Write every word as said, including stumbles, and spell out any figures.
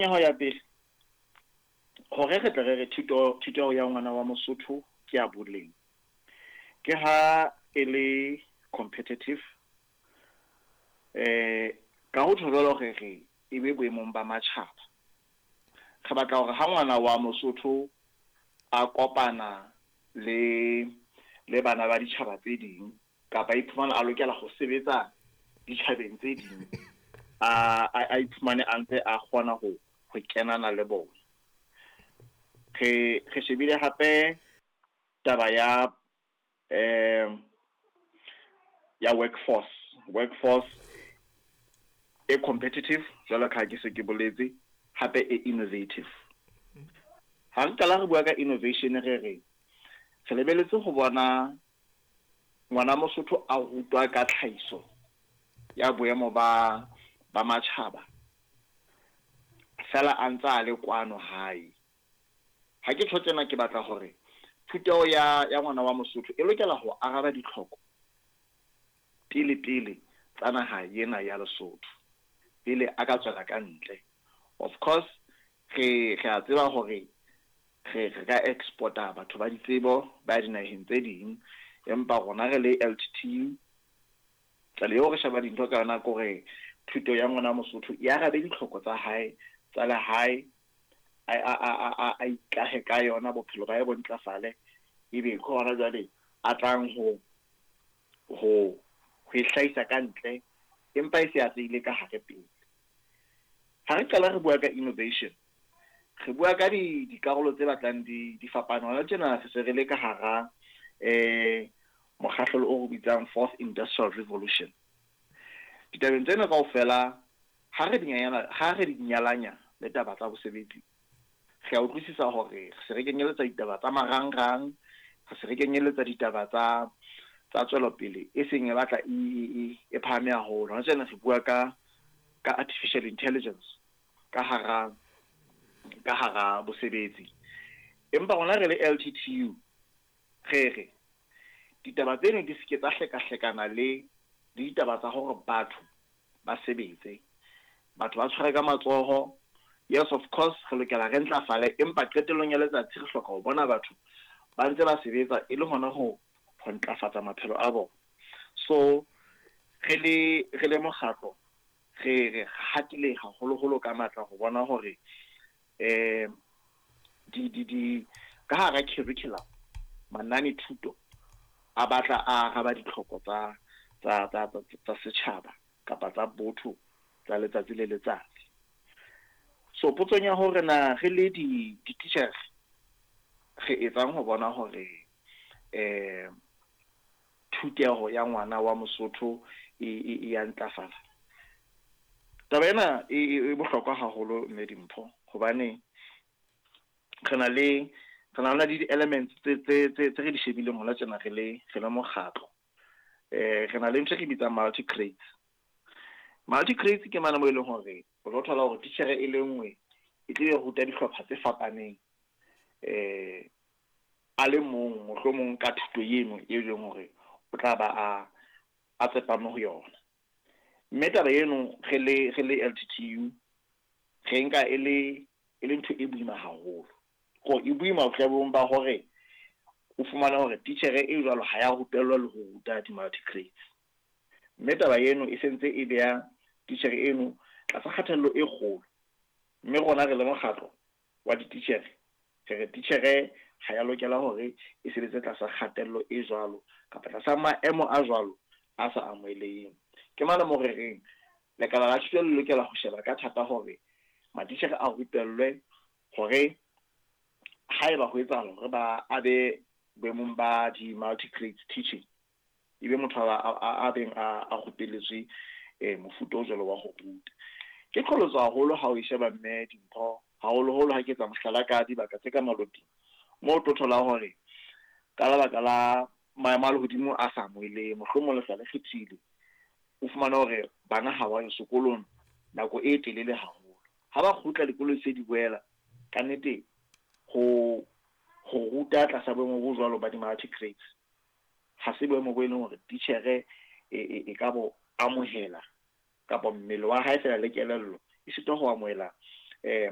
Ya ho ya pele hore re tle re re thuto thuto ya ngwana wa Mosotho ke ya boleng, ke ha e le competitive, eh ka ho tjho jwalo re re e be boemong ba matjhaba. Re batla hore ha ngwana wa Mosotho a kopana le le bana ba ditjhaba tse ding, kapa iphumana a lokela ho sebetsa ditjhabeng tse ding, a a iphumane a ntse a kgona ho ho kenana le bona. Re re shebile hape taba ya eh ya workforce workforce e competitive jwalo ka ha ke se ke boletse, hape e innovative. Ha re qala re bua ka innovation, re re re lebeletse ho bona ngwana Mosotho a rutwa ka tlhahiso ya boemo ba ba matjhaba fela a ntse a le kwano hae. Ha ke tjho tjena, ke batla hore thuto ya ya ngwana wa Mosotho e lokela ho araba ditlhoko pele pele tsa naha ena ya Lesotho pele a ka tswela ka ntle. Of course re re a tseba hore re re ka exporta batho ba ditsebo ba dinaheng tse ding, empa rona re le L T T U, tsela eo re sheba dintho ka yona ke hore thuto ya ngwana Mosotho e arabe ditlhoko tsa hae tsa lehae, a a a a ikahe ka yona, bophelo ba hae bo ntlafale, ebe ke hona jwale a tlang ho ho ho e hlahisa ka ntle, empa e se atlehile ka hare pele. Ha re qala re bua ka innovation, re bua ka di dikarolo tse batlang di di fapana. Hona tjena re se re le ka hara eh mokgahlelo o re bitsang Fourth Industrial Revolution. Ditabeng tsena kaofela ha re di nyalanya, ha re di nyalanya le taba tsa bosebetsi, re a utlwisisa hore re se re kenyeletsa ditaba tsa marangrang, re se re kenyeletsa ditaba tsa tsa tswelopele e seng e batla e e e phahame haholo. Hona tjena re bua ka ka artificial intelligence ka hara ka hara bosebetsi. Empa rona re le L T T U re re ditaba tseno di seke tsa hlekahlekana le le ditaba tsa hore batho ba sebetse, batho ba tshware ka matsoho. Yes, of course re lokela re ntlafale, empa qetellong ya letsatsi re hloka ho bona batho ba ntse ba sebetsa e le hona ho ho ntlafatsa maphelo a bona. So re le re le mokgatlo re re hatile haholoholo ka matla ho bona hore eh di di di ka hara curriculum manane thuto a batla a araba ditlhoko tsa tsa tsa tsa setjhaba kapa tsa botho tsa letsatsi le letsatsi. So potsong ya hore na re le di di-teacher re etsang ho bona hore eh thuteho ya ngwana wa Mosotho e e ya ntlafala, taba ena e e bohlokwa haholo mme Dimpho, hobane re na le re na le di-elements tse tse tse tse re di shebileng hona tjena re le re le mokgatlo. Eh re na le ntho e re bitsang multi grades. Multi grades ke mane mo e leng hore o tlo thola hore titjhere e le nngwe e tle e ruta dihlopha tse fapaneng, eh a le mong mohlomong ka thuto eno e leng hore o tla ba a a tsepame ho yona. Mme taba eno re le re le L T T U re nka e le e le ntho e boima haholo. Ko e boima bohlabong ba hore o fumana hore titjhere e jwalo ha ya rupellwa le ho ruta di-multi grades. Mme taba eno e sentse e beha titjhere eno tlasa kgatello e kgolo. Mme rona re le mokgatlo wa dititjhere re re titjhere ha ya lokela hore e sebetse tlasa kgatello e jwalo kapa tlasa maemo a jwalo a sa amoheleheng. Ke mane mo re reng lekala la thuto le lokela ho sheba ka thata hore matitjhere a rupellwe hore haeba ho etsahala hore ba abe boemong ba di-multi grades teaching, ebe motho a a a beng a a rupelletswe eh mofuta o jwalo wa ho ruta. Ke qholotso haholo ha o e sheba mme Dimpho, haholoholo ha ke etsa mohlala ka dibaka tse ka maloting moo o tlo thola hore ka lebaka la maemo a lehodimo a sa amoheleng, mohlomong lehlwa le kgethile, o fumane hore bana ha ba ye sekolong nako e telele haholo. Ha ba kgutla dikolong se di boela, ka nnete ho ho ruta tlasa boemo bo jwalo ba di-multi grades ha se boemo bo e leng hore titjhere e e e ka bo amohela kapa mmele wa hae fela le kelello e sitwa ho amohela Eh